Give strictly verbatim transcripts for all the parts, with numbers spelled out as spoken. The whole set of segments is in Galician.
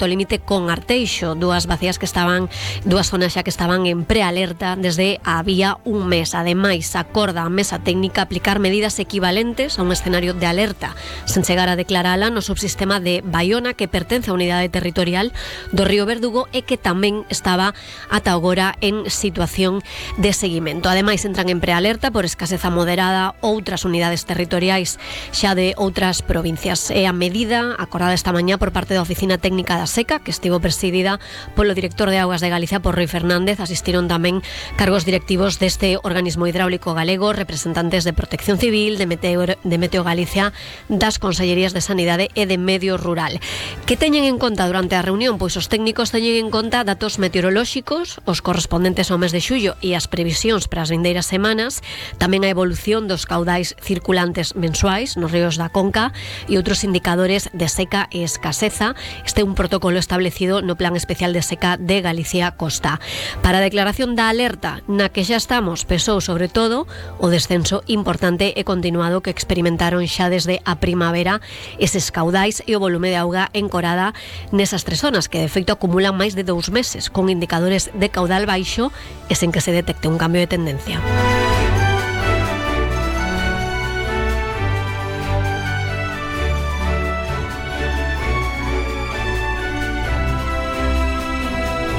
o límite con Arteixo, dúas vacías que estaban, dúas zonas xa que estaban en prealerta desde había un mes. Ademais, acorda a mesa técnica aplicar medidas equivalentes a un escenario de alerta sen chegar a declarala no subsistema de Baiona, que pertence á unidade territorial do Río Verdugo e que tamén estaba ata agora en situación de seguimento. Ademais, entran en prealerta por escaseza moderada outras unidades territoriais xa de outras provincias. É a medida acordada esta mañá por parte da Oficina Técnica da Seca, que estivo presidida polo director de Augas de Galicia, por Rui Fernández. Asistiron tamén cargos directivos deste organismo hidráulico galego, representantes de Protección Civil, de Meteo, de Meteo Galicia, das Consellerías de Sanidade e de Medio Rural. Que teñen en conta durante a reunión? Pois os técnicos teñen en conta datos meteorolóxicos, os correspondentes ao mes de xullo e as previsións para as vindeiras semanas, tamén a evolución dos caudais circulantes mensuais nos ríos da Conca e outros indicadores de seca e escaseza. Este é un protocolo establecido no Plan Especial de Seca de Galicia Costa. Para a declaración da alerta na que xa estamos, pesou sobre todo o descenso importante e continuado que experimentaron xa desde a primavera eses caudais e o volume de auga encorada nesas tres zonas, que de feito acumulan máis de dous meses con indicadores de caudal baixo e sen que se detecte un cambio de tendencia.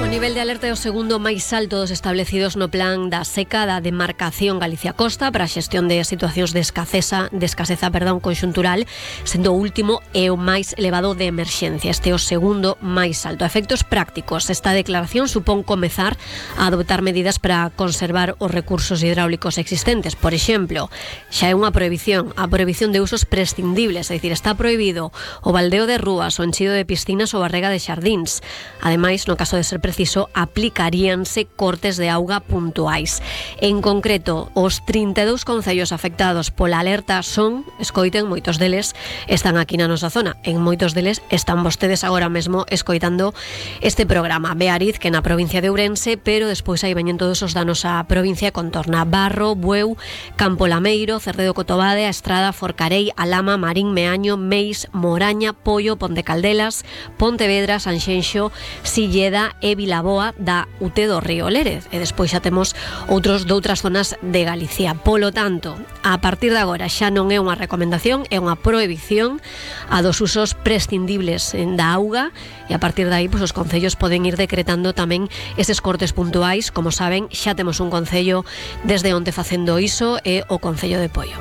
O nivel de alerta é o segundo máis alto dos establecidos no plan da seca da demarcación Galicia Costa para a xestión de situacións de escaseza, de escaseza, perdón, conxuntural, sendo o último é o máis elevado de emerxencia. Este é o segundo máis alto. A efectos prácticos, esta declaración supón comezar a adoptar medidas para conservar os recursos hidráulicos existentes. Por exemplo, xa é unha prohibición, a prohibición de usos prescindibles, é dicir, está prohibido o baldeo de rúas, o enchido de piscinas ou a rega de xardíns. Ademais, no caso de ser preciso, aplicaríanse cortes de auga puntuais. En concreto, os trinta e dous concellos afectados pola alerta son, escoiten, moitos deles están aquí na nosa zona, en moitos deles están vostedes agora mesmo escoitando este programa. Beariz, que na provincia de Ourense, pero despois aí veñen todos os danos á provincia que contorna: Barro, Bueu, Campo Lameiro, Cerredo Cotobade, a Estrada, Forcarei, Alama, Marín, Meaño, Meis, Moraña, Pollo, Ponte Caldelas, Pontevedra, Sanxenxo, Silleda e Vilaboa da U T do Río Lérez. E despois xa temos outros doutras zonas de Galicia. Polo tanto, a partir de agora xa non é unha recomendación, é unha prohibición a dos usos prescindibles da auga, e a partir de aí, pois, os concellos poden ir decretando tamén eses cortes puntuais. Como saben, xa temos un concello desde onte facendo iso, é o Concello de Poio.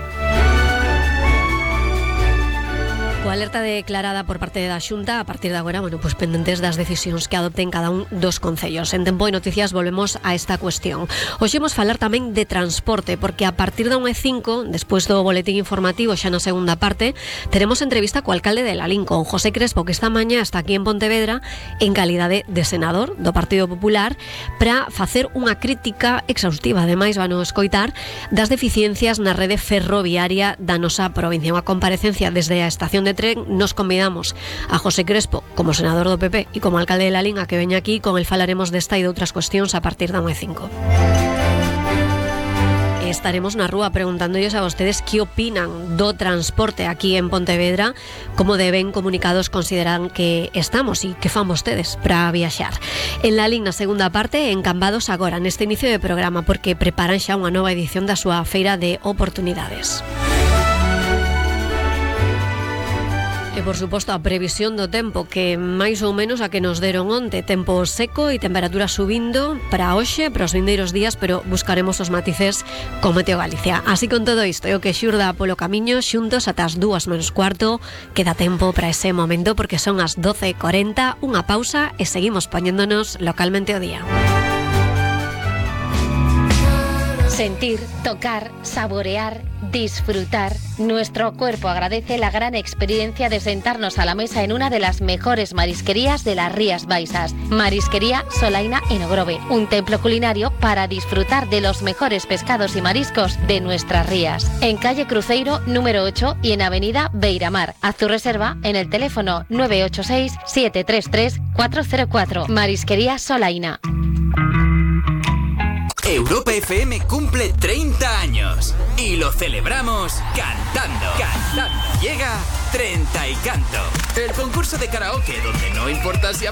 Coa alerta declarada por parte da Xunta, a partir de agora, bueno, pues pendentes das decisións que adopten cada un dos concellos. En Tempo e Noticias volvemos a esta cuestión. Hoxe imos falar tamén de transporte, porque a partir da unha e cinco, despois do boletín informativo, xa na segunda parte, teremos entrevista co alcalde de Lalín, con José Crespo, que esta mañá está aquí en Pontevedra en calidade de senador do Partido Popular, para facer unha crítica exhaustiva, ademais van a escoitar, das deficiencias na rede ferroviaria da nosa provincia. Unha comparecencia desde a estación de tren. Nos convidamos a José Crespo como senador do P P e como alcalde de Lalín a que veña aquí. Con el falaremos desta e de outras cuestións a partir da unha e cinco. Estaremos na rúa preguntándoles a vostedes que opinan do transporte aquí en Pontevedra, como de ben comunicados consideran que estamos e que fan vostedes para viaxar. En Lalín, na segunda parte, encambados agora neste inicio de programa, porque preparan xa unha nova edición da súa feira de oportunidades. E, por suposto, a previsión do tempo, que máis ou menos a que nos deron onte. Tempo seco e temperatura subindo para hoxe, para os vindeiros días, pero buscaremos os matices con Meteo Galicia. Así, con todo isto, e o que xurda polo camiño, xuntos ata as dúas menos cuarto, queda tempo para ese momento, porque son as doce e cuarenta, unha pausa e seguimos poñéndonos localmente o día. Sentir, tocar, saborear, disfrutar. Nuestro cuerpo agradece la gran experiencia de sentarnos a la mesa en una de las mejores marisquerías de las Rías Baixas. Marisquería Solaina en Ogrove, un templo culinario para disfrutar de los mejores pescados y mariscos de nuestras rías. En calle Cruzeiro número ocho y en avenida Beiramar. Haz tu reserva en el teléfono nueve ocho seis, siete tres tres, cuatro cero cuatro. Marisquería Solaina. Europa F M cumple treinta años y lo celebramos cantando. Cantando. Llega Treinta y Canto, el concurso de karaoke donde no importa si